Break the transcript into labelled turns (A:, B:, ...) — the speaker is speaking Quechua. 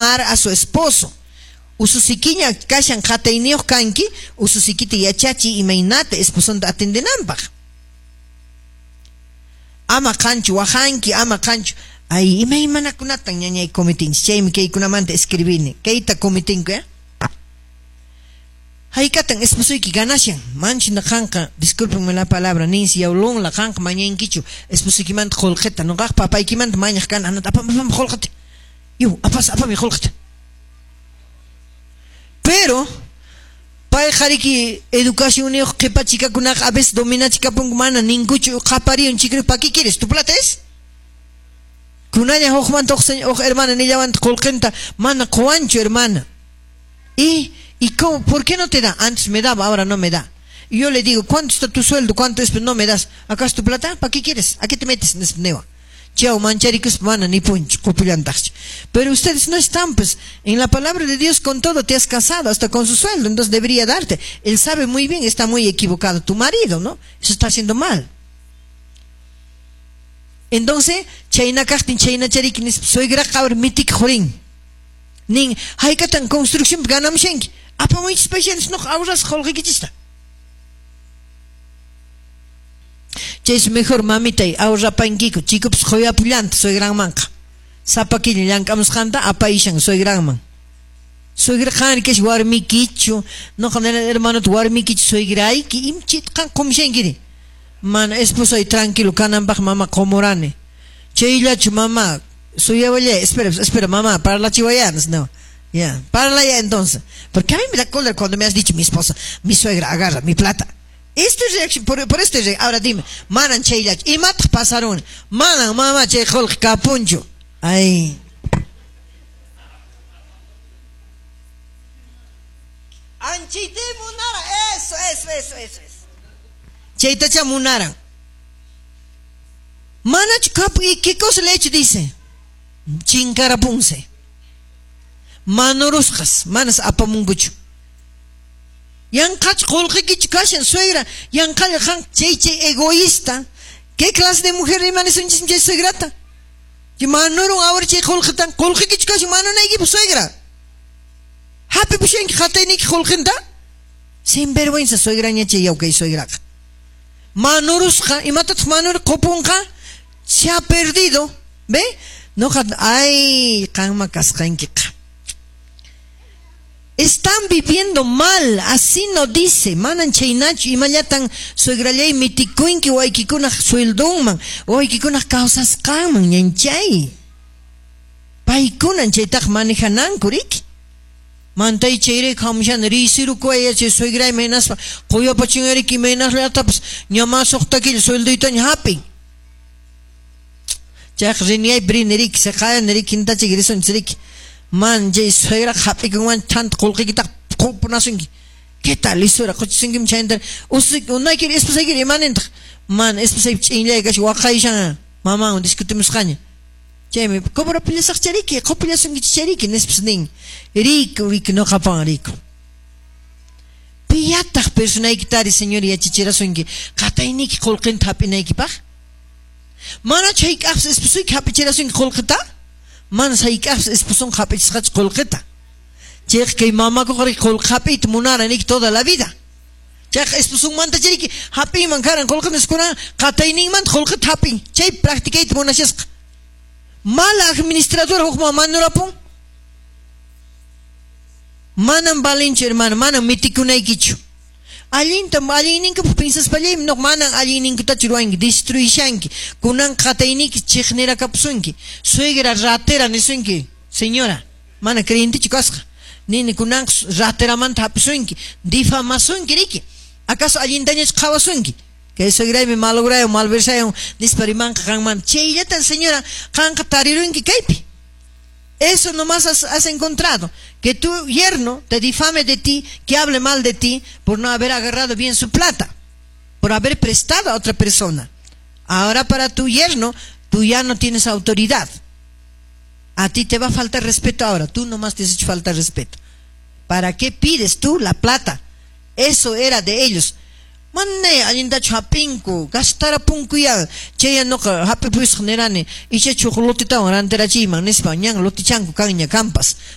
A: A su esposo. Ususikiña kashan qatayniyuq kanki, ususikita yachachiy imaynata esposonta atendenanpaq. Ama qanchu waqanki, ama qanchu. Ay, imaymanakunatan ñañay cometinchis, chaymi kaykunamanta escribini. Kayta cometinku, ¿eh? Haykatan esposoyki ganashan, manchina qanqa, discúlpenme la palabra, ninsi yawlunla qanqa mañankichu esposoykimanta qullqita, nuqaq papaykimanta mañaq kan, anata apam apam qullqita. Yu, apas apami qullqita. Pero payqa riki educacionniyuq qhipachikakunaqa a veces dominachikapunku mana ninkuchu qapariyun chikri ¿pa qué quieres? ¿Tu plata es? Kunalla hukmanta huk hermana nillawanta qullqinta mana quwanchu hermana. ¿Y cómo? ¿Por qué no te da? Antes me daba, ahora no me da. Y yo le digo, ¿cuánto está tu sueldo? ¿Cuánto es? No me das. ¿Acaso tu plata? ¿Para qué quieres? ¿A qué te metes? Niwa. Chau, mancharikus mana ni punch, qupillantaqchu. Pero ustedes no están, pues, en la palabra de Dios con todo te has casado, hasta con su sueldo, entonces debería darte. Él sabe muy bien, está muy equivocado tu marido, ¿no? Eso está haciendo mal. Entonces, chayna kaqtin, chayna chariki, nispa, suegraqa ahora mitik jurin. Nin, haykatan construcción ganamushanki. Apamuychis paishanis noq ahorras qolqeykichista. Chaysi mejor mamitay ahorrapankiku, chikupas qoyapullanta suegranmanqa. Sapa killa llank'amusqanta apayshan suegranman. Suegra qanri kash warmikichu, noqa nena hermanota warmikichu suegrayki, imchit qan qumushankiri. Mana esposay tranquilo kananpaq mama qumurani. Chayllachu mama, suyawallay, espera, espera mamá, parlachiwayanas, no. Ya, parlaya entonces. Porque a mí me da cólera cuando me has dicho mi esposa, mi suegra agarra mi plata. Esto es reacción, por esto es reacción. Ahora dime, manan chayllachu, imataq pasarun? Manan mama chay qullqi kapunchu. Ay. Anchite munara, eso, eso, eso, eso, eso. Chaytacha munaran. Manachu kapu, ¿y qué cosa le he hecho? Dice. Chinkarapunse. Manurusqas, manas apamunkuchu. Yanqach qullqikichu kashan suegra, yanqalla qan chay chay egoísta. ¿Qué clase de mujer rimaниsunchis chay suegrata? Que manurun ahora chay qullqitan, qullqikichu kashan manunaykipaq suegra. Hapi pushanki qatayniyki qullqinta? Sin vergüenza suegraña chay yawkay suegraqa. Manurusqa, imatataq manur qupunqa? Se ha perdido, ¿ve? Noqa, ay, qanma kasqankiqa. Están viviendo mal, así no dice. Manan chaynachu, imallatan suegrallay mitikunki waykikunaq sueldonman, waykikunaq kawsasqanman, ñanchay. Paykunan chaytaq manejananku, riki. Mantay chayrayku hamushani, risirukuway chay suegrayman hinaspa, quyapachinariki imaynasllatapas, ña suqta killa sueldoytaña hapin. Chayqa riniyaypi rini riki, siqayani riki, hintachiki risunchis riki. Man chay suegra hap'ikunwan thanta qullqiykitaq qupunasunki. ¿Qué tal lisura? Quchisunkim chayta. Usik unaykiri esposaykiri imanintaq? Man esposaypi ch'inllay kashan waqayshan mamanwan discutimusqaña. Chaymi cobrapillasaq chariki, qupillasunkichis chariki nispas nin. Riku, riku nuqapan riku. Piyataq personaykitari señor yachachirasunki qatayniyki qullqinta hap'inaykipaq? Manachu hayk'aqpas esposuyki hap'ichirasunki qullqita? Manas hayk'aqpas esposon hap'ichisqachu qullqita. Chayqa kay mamakuqa riki qullqi hap'iyta munaran riki toda la vida. Chayqa esposonmanta chariki hap'iyman karan qullqita niskunan qatayninmanta qullqita hap'in. Chay practicayta munashasqa. Mala administradora hukman manurapun. Manam valinchu hermano, manam mitikunaykichu. Allinta allinninkupaq pensaspallaymi no manan allinninkutachu ruwanki, destruishanki. Kunan qatayniyki chiqnirakapusunki. Suegra ratera nisunki, señora, mana creyentichu kasqa. Nini kunan rateramanta hap'isunki, difamasunki riki. ¿Acaso allintañachu qhawasunki? Kay suegraymi malograyon, malversayon nispa rimanqa qanman. Chayllatan señora qanqa tarirunki kaypi. Eso nomás has encontrado, que tu yerno te difame de ti, que hable mal de ti por no haber agarrado bien su plata, por haber prestado a otra persona. Ahora para tu yerno, tú ya no tienes autoridad. A ti te va a faltar respeto ahora, tú nomás te has hecho faltar respeto. ¿Para qué pides tú la plata? Eso era de ellos. Manay allintachu hap'inku, gastarapunkuya. Chaya nuqa hap'ipusaq nirani, ichachu huk lotetawan rantirachiyman nispa, ñan lotichanku kanña kampas.